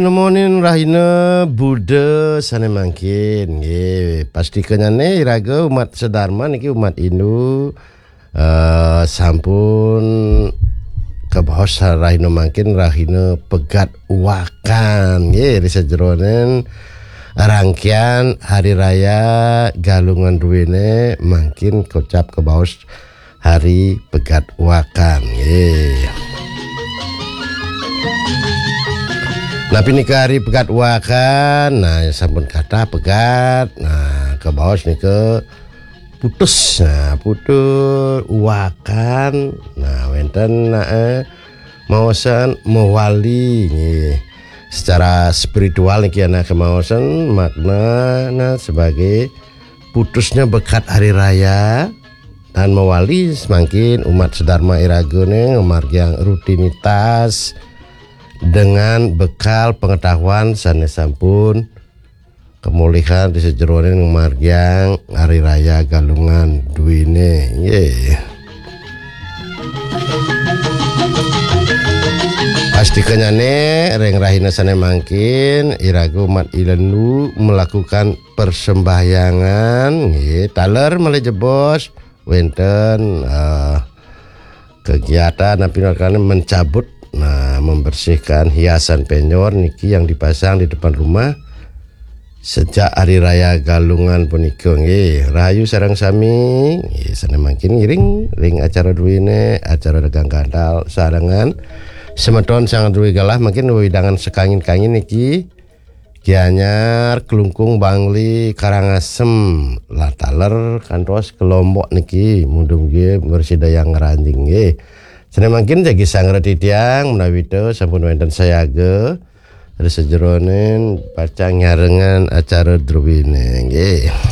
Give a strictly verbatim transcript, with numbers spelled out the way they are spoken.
Nemonin rahina Buddha sane mangkin. Nggih, pastikanyane iraga umat sedharma niki umat Hindu, eh, sampun kabaos rahina mangkin rahina Pegat Wakan. Nggih, ri sajeroning rangkian hari raya Galungan duene mangkin kocap kabaos hari Pegat Wakan. Nggih. Napi nika hari Pegat Wakan? Nah, sampun kathah pegat. Nah, kabaos nika putus. Nah, putus wakan. Nah, wenten, nah, eh, maosan mawali nggih. Secara spiritual niki ana kamaosan makna, nah, sebagai putusnya bekat hari raya dan mawali semangkin umat sedharma iragane ngamargiang rutinitas dengan bekal pengetahuan sane sampun kemulihan di sajeroning ngamargiang hari raya Galungan duene. Nggih. Pastikanyane ring rahina sane mangkin iraga umat Hindu melakukan persembahyangan nggih, taler malih jebos wenten, eh, kegiatan napi mencabut, nah, membersihkan hiasan penyor niki yang dipasang di depan rumah sejak hari raya Galungan punika nggih. Rahayu sareng sami, nggih, sane mangkin ngiring ring acara druene, acara dagang gantal sarengan semeton sang druwe galah mangkin wewidangan sekangin-kangin niki. Gianyar, Klungkung, Bangli, Karangasem, lah taler kantos ke Lombok niki, mudum nggih mresidayang ngranjing nggih. Sane mangkin jagi sangra titiang menawi ta sampun wenten sayaga ri sajeroning pacang nyarengan acara druwine nggih.